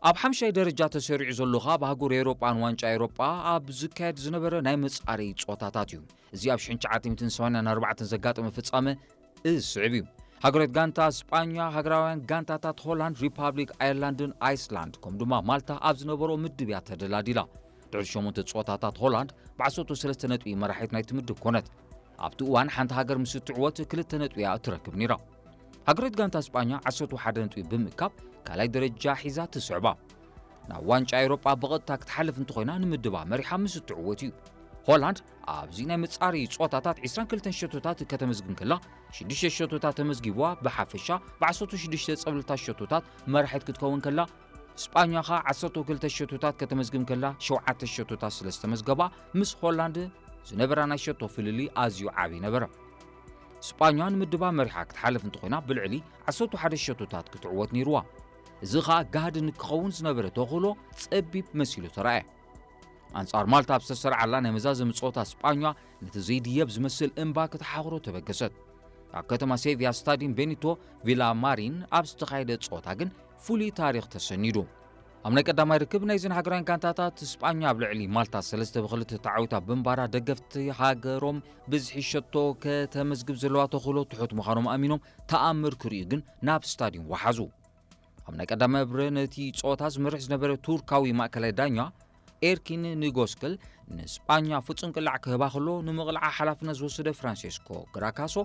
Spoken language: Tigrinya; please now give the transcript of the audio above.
ኣብ ሓምሻይ ደረጃ ተሰሪዑ ዘሎ ካብ ኣህጉር ኤውሮጳ ንዋንጫ ኤውሮጳ ኣብ ዝካየድ ዝነበረ ናይ መጻረዪ ጾታታት እዩ። እዚ ኣብ ሽሕን ትሽዓተ ሚእትን ሰማንያን ኣርባዕተን ዘጋጠመ ፍጻመ እዚ ዝስዕብ እዩ። ሃገራዊት ጋንታ ስጳኛ፣ ሃገራውያን ጋንታታት ሆላንድ፣ ሪፓብሊክ ኣየርላንድን ኣይስላንድ፣ ከምኡ ድማ ማልታ ኣብ ዝነበሮ ምድብ እያ ተደላዲላ። ድሕሪ ሸሞንተ ጸወታታት ሆላንድ ብዓሰርተ ሰለስተ ነጥቢ መራሒት ናይቲ ምድብ ኮነት። ኣብቲ እዋን ሓንቲ ሃገር ምስ እትዕወት ክልተ ነጥቢ እያ እትረክብ ነይራ። ሃገራዊት ጋንታ ስጳኛ ዓሰርተ ሓደ ነጥቢ ብምእካብ ካልኣይ ደረጃ ሒዛ ትስዕባ። ናብ ዋንጫ ኤውሮጳ ብቐጥታ ክትሓልፍ እንተኾይና ንምድባ መሪሓ ምስ እትዕወት እዩ። ሆላንድ ኣብዚ ናይ መጻረዪ ጸወታታት ዕስራን ክልተን ሸቶታት ከተመዝግብ ከላ ሽዱሽተ ሸቶታት ተመዝጊብዋ ብሓፈሻ ብዓሰርተ ሽዱሽተ ጸብለልታ ሸቶታት መራሒት ክትከውን ከላ ስጳኛ ኸኣ ዓሰርተ ክልተ ሸቶታት ከተመዝግብ ከላ ሸውዓተ ሸቶታት ስለ ዝተመዝገባ ምስ ሆላንድ ዝነበራ ናይ ሸቶ ፍልልይ ኣዝዩ ዓቢ ነበረ። ስጳኛ ንምድባ መሪሓ ክትሓልፍ እንተኾይና ብልዕሊ ዓሰርተ ሓደ ሸቶታት ክትዕወት ነይርዋ። እዚ ኸኣ ጋህዲ ንክኸውን ዝነበረ ተኽእሎ ጸቢብ መሲሉ ተራእየ። ኣንጻር ማልታ ኣብ ዝተሰርዓላ ናይ መዛዘሚ ጸወታ ስጳኛ ነቲ ዘይድየብ ዝመስል እምባ ክትሓኽሮ ተበገሰት። ኣብ ከተማ ሴቪያ ስታዲየም ቤኒቶ ቪላማሪን ኣብ ዝተኻየደ ጸወታ ግን ፍሉይ ታሪኽ ተሰኒዱ። ኣብ ናይ ቀዳማይ ርክብ ናይዘን ሃገራውያን ጋንታታት ስጳኛ ኣብ ልዕሊ ማልታ ሰለስተ ብክልተ ተዓዊታ ብምንባራ ደገፍቲ ሃገሮም ብዝሒ ሸቶ ከተመዝግብ ዘለዋ ተኽእሎ ትሑት ምዃኖም ኣሚኖም ተኣምር ክርእዩ ግን ናብ ስታዲየም ወሓዙ። ኣብ ናይ ቀዳማይ ብረ ነቲ ጸወታ ዝመርሕ ዝነበረ ቱርካዊ ማእከላይ ዳኛ ኤርኪን ንጎስክል ንስጳኛ ፍጹም ቅላዕ ክህባ ከሎ ንምቕላዓ ሓላፍነት ዝወሰደ ፍራንሴስኮ ግራካሶ